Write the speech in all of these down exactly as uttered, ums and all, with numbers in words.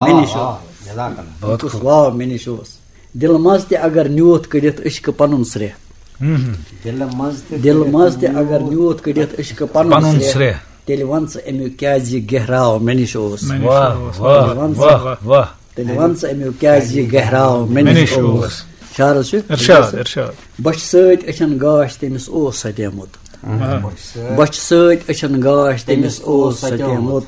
مےٚ نِش اوس۔ جزاک اللہ۔ بہٕ کُس واو مےٚ نِش اوس۔ دِلہٕ منٛز تہِ اگر نیوٗتھ کٔڑِتھ عشقہٕ پَنُن سرٛیٚہہ۔ دِلہٕ منٛز تہِ دِلہٕ منٛز تہِ اگر نیوٗتھ کٔڑِتھ عشقہٕ پَنُن پَنُن سرٛیٚہہ۔ سرٛیٚہہ۔ تیٚلہِ وَن ژٕ اَمیُک کیٛازِ یہِ گہراو مےٚ نِش اوس۔ مےٚ نِش واہ، اوس۔ واہ، تیٚلہِ وَن ژٕ واہ، واہ۔ تیٚلہِ وَن ژٕ اَمیُک کیٛازِ یہِ گہراو مےٚ مےٚ نِش نِش اوس۔ اوس۔ شعرس چھُ ارشاد، ارشاد۔ بۄچھِ سۭتۍ أچھن گاش تٔمِس اوس ستیومُت۔ آ۔ بۄچھِ سۭتۍ أچھن گاش تٔمِس اوس ستیومُت۔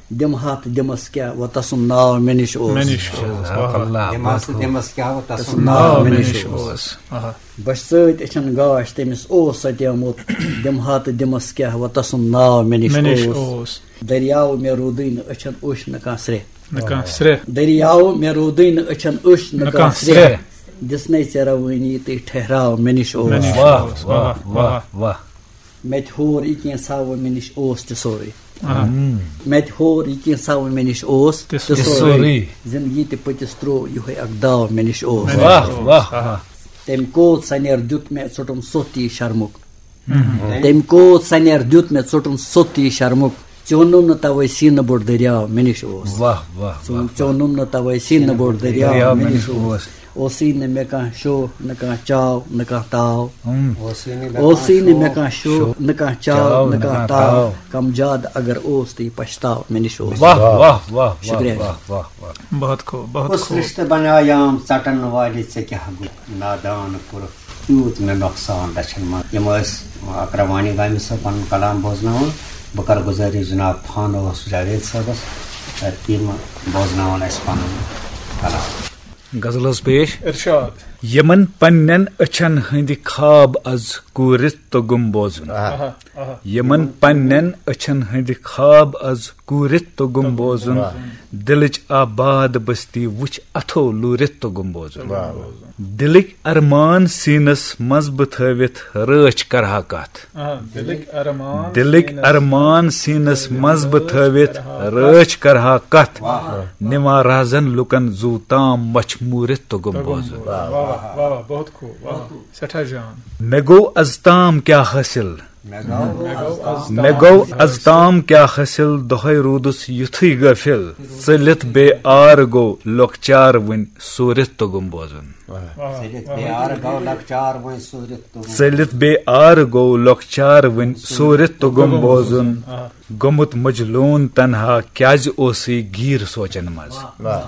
دِمہٕ ہا تہٕ دِمس کیٛاہ وۄنۍ تسُنٛد ناو مےٚ نِش اوس۔ مےٚ نِش اوس۔ جزاک اللہ۔ دِمہٕ ہا تہٕ دِمس کیٛاہ وۄنۍ تسُنٛد ناو ناو مےٚ مےٚ نِش نِش اوس۔ اوس۔ آہا۔ بۄچھِ سۭتۍ أچھن گاش تٔمِس اوس ستیومُت۔ دِمہٕ ہا تہٕ دِمس کیٛاہ وۄنۍ تسُنٛد ناو مےٚ نِش مےٚ نِش اوس۔ اوس۔ دٔریاو مےٚ روٗدٕے نہٕ أچھن اوٚش نہٕ کانٛہہ سرٛیٚہہ۔ نہٕ کانٛہہ سرٛیٚہہ۔ دٔریاو مےٚ روٗدٕے نہٕ أچھن اوٚش نہٕ نہٕ کانٛہہ کانٛہہ سرٛیٚہہ۔ سرٛیٚہہ۔ دِژنَے ژےٚ روٲنی تہٕ ٹھہراو مےٚ نِش اوس۔ مےٚ نِش واہ، اوس۔ واہ، واہ، واہ، واہ۔ واہ۔ مےٚ تہِ ہور یہِ کینٛژھا وۄنۍ مےٚ نِش اوس تہِ سورُے۔ آ۔ مےٚ تہِ ہور یہِ کینٛژھا وۄنۍ مےٚ نِش اوس تہِ تہِ سورُے۔ سورُے۔ زِندگی تہِ پٔتِس ترٛوو یِہوٚے اکھ داو مےٚ نِش اوس۔ مےٚ نِش واہ، اوس۔ واہ، آ۔ واہ۔ تٔمۍ کوت سنیر دیُت مےٚ ژوٚٹُم سوٚت یہِ شرمُک۔ تٔمۍ کوت سنیر دیُت مےٚ ژوٚٹُم سوٚت یہِ شرمُک۔ ژیوٚنُم نہٕ توے سیٖنہٕ بوٚڑ دٔریاو مےٚ نِش اوس۔ واہ، واہ، ژیوٚن-، واہ۔ ژیوٚنُم نہٕ توے سیٖنہٕ بوٚڑ دٔریاو دٔریاو مےٚ مےٚ نِش نِش اوس۔ اوس۔ اوسُے نہٕ مےٚ کانٛہہ شوق، نہٕ کانٛہہ چاو، نہٕ کانٛہہ تاو۔ ہم۔ اوسُے نہٕ مےٚ اوسُے کانٛہہ نہٕ مےٚ شوق۔ کانٛہہ شوق، نہٕ کانٛہہ چاو، چاو، نہٕ نہٕ کانٛہہ کانٛہہ تاو۔ تاو۔ کم زیادٕ اگر اوس تہٕ یہِ پچھتاو مےٚ نِش اوس۔ واہ، واہ، واہ، واہ، شُکریہ۔ واہ، واہ، واہ۔ بہت خوب، بہت کُس خوب۔ رِشتہٕ بنیایام ژٹن والہِ ژےٚ کیٛاہ گوٚو؟ نادان کوٚرُکھ تیوٗت مےٚ نۄقصان دَچھَن منٛز۔ یِم ٲسۍ اکرم وانی گامہِ صٲب پَنُن کلام بوزناوان۔ بہٕ کَرٕ گُزٲرِش جناب فانوس جاوید صٲبَس، تہٕ تِم بوزناوَن اَسہِ پَنُن کلام۔ غزل حظ پیش۔ ارشاد۔ یِمَن پننٮ۪ن أچھَن ہٕنٛدِ خواب از کوٗرِتھ توٚگُم بوزُن۔ آہا، آہا۔ یِمَن پننٮ۪ن أچھَن ہٕنٛدِ خواب از کوٗرِتھ توٚگُم بوزُن۔ واہ۔ دِلٕچ آباد بستی وٕچھ اَتھو لوٗرِتھ توٚگُم بوزُن۔ واہ، واہ۔ دِلٕکۍ ارمان سیٖنس منٛز بہٕ تھٲوِتھ رٲچھ کرہا کتھ۔ آ، دِلٕکۍ ارمان دِلٕکۍ سیٖنس ارمان سیٖنس منٛز بہٕ تھٲوِتھ رٲچھ کرہا کتھ۔ واہ۔ نِوان رازن لُکن زُو تام مچھ موٗرِتھ توٚگُم بوزُن۔ واہ، واہ، واہ، واہ، بہت خوب، واہ، سٮ۪ٹھاہ جان۔ مےٚ گوٚو از تام کیٛاہ حٲصِل؟ مےٚ گوٚو از تام کیٛاہ حٲصِل؟ دۄہے روٗدُس یُتھُے غٲفِل۔ ژٔلِتھ بے آر گوٚو لۄکچار وٕنۍ سوٗرِتھ توٚگُم بوزُن۔ واہ۔ ژٔلِتھ بے آر گوٚو لۄکچار وٕنۍ سوٗرِتھ توٚگُم۔ ژٔلِتھ بے آر گوٚو لۄکچار وٕنۍ سوٗرِتھ توٚگُم بوزُن۔ آ۔ گوٚمُت مجلوٗن تنہا کیٛازِ اوسُے گیٖر سونچن منٛز؟ واہ۔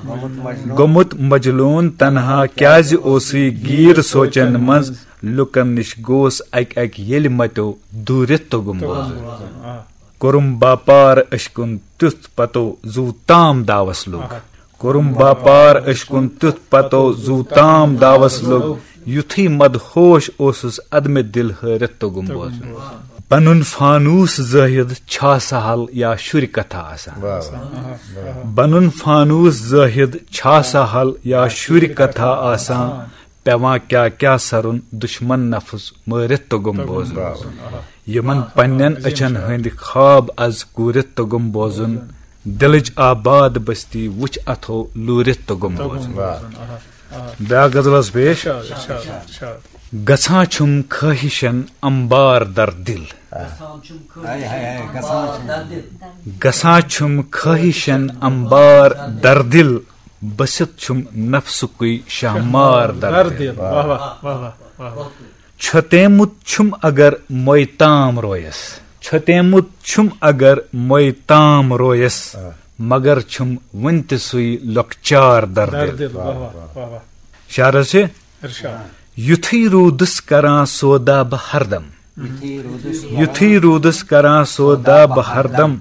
گوٚمُت مجلوٗن تنہا کیٛازِ اوسُے گیٖر سونچن منٛز؟ لُکن نِش گوس اکہِ اکہِ ییٚلہِ متیو دوٗرِتھ توٚگُم بوزُن۔ آ۔ کوٚرُم باپار أچھ کُن تیُتھ پتو زُو تام داوس لوٚگ۔ آ۔ کوٚرُم باپار أچھ کُن تیُتھ پتو زُو تام داوس لوٚگ۔ یُتھُے مدہوش اوسُس ادمہِ دِل ہٲرِتھ توٚگُم بوزُن۔ پنُن فانوس زٲہِد چھا سہل یا شُرۍ کتھا آسان؟ واہ، واہ۔ بنُن فانوس زٲہِد چھا سہل یا شُرۍ کتھا آسان؟ پٮ۪وان کیٛاہ کیٛاہ سرُن دُشمن نفس مٲرِتھ توٚگُم بوزُن۔ یِمن پننٮ۪ن أچھن ہٕنٛدۍ خواب از کوٗرِتھ توٚگُم بوزُن۔ دِلٕچ آباد بستی وٕچھ اتھو لوٗرِتھ توٚگُم بوزُن۔ واہ۔ بیٛاکھ غزل حظ پیش۔ ارشاد، ارشاد، ارشاد۔ گژھان چھُم خٲہِشن امبار در دِل۔ ہاے، ہاے، ہاے، گژھان چھُم۔ گژھان چھُم خٲہِشن امبار در دِل۔ بٔسِتھ چھُم نفسُکُے شہمار در در دِل۔ دِل۔ واہ، واہ، واہ، واہ، واہ۔ چھۄتیمُت چھُم اگر موے تام رویس۔ چھۄتیمُت چھُم اگر موے تام رویس۔ آ۔ مگر چھُم وُنہِ تہِ سُے لۄکچار در در دِل۔ دِل۔ واہ، واہ، واہ، واہ۔ شعرس چھِ ارشاد۔ یُتھُے روٗدُس کران سودا بہٕ ہردم۔ یُتھُے روٗدُس یُتھُے روٗدُس کران سودا بہٕ ہردم۔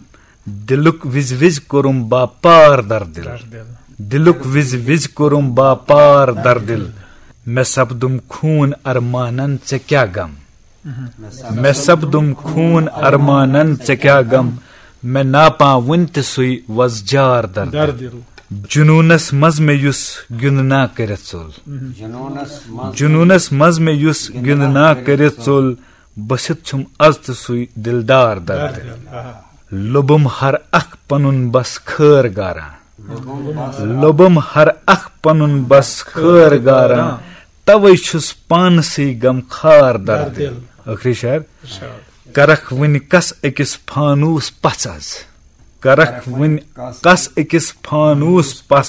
دِلُک وِزِ وِزِ کوٚرُم باپار در دِل۔ در دِل۔ دِلُک وِزِ وِزِ کوٚرُم باپار در دِل۔ مےٚ سپدُم خوٗن ارمانن ژےٚ کیٛاہ غم۔ مےٚ سپدُم خوٗن ارمانن ژےٚ کیٛاہ غم۔ مےٚ ناپان وُنہِ تہِ سُے وۄزجار در در دِل۔ دِل۔ جنوٗنس منٛز مےٚ یُس گِنٛدنا کٔرِتھ ژوٚل۔ جنوٗنس منٛز جنوٗنس منٛز مےٚ یُس گِنٛدنا کٔرِتھ ژوٚل۔ بٔسِتھ چھُم از تہِ سُے دِلدار در در دِل۔ دِل۔ آہا۔ لوٚبُم ہر اکھ پنُن بس خٲر گاران۔ لوٚبُم ہر اکھ پنُن بس خٲر گاران۔ توے چھُس پانسٕے غم خار در در دِل۔ دِل۔ ٲخری شعر۔ ارشاد۔ کرکھ وٕنہِ کس أکِس فانوس پژھ از۔ کرکھ وۄنۍ کس أکِس فانوس پس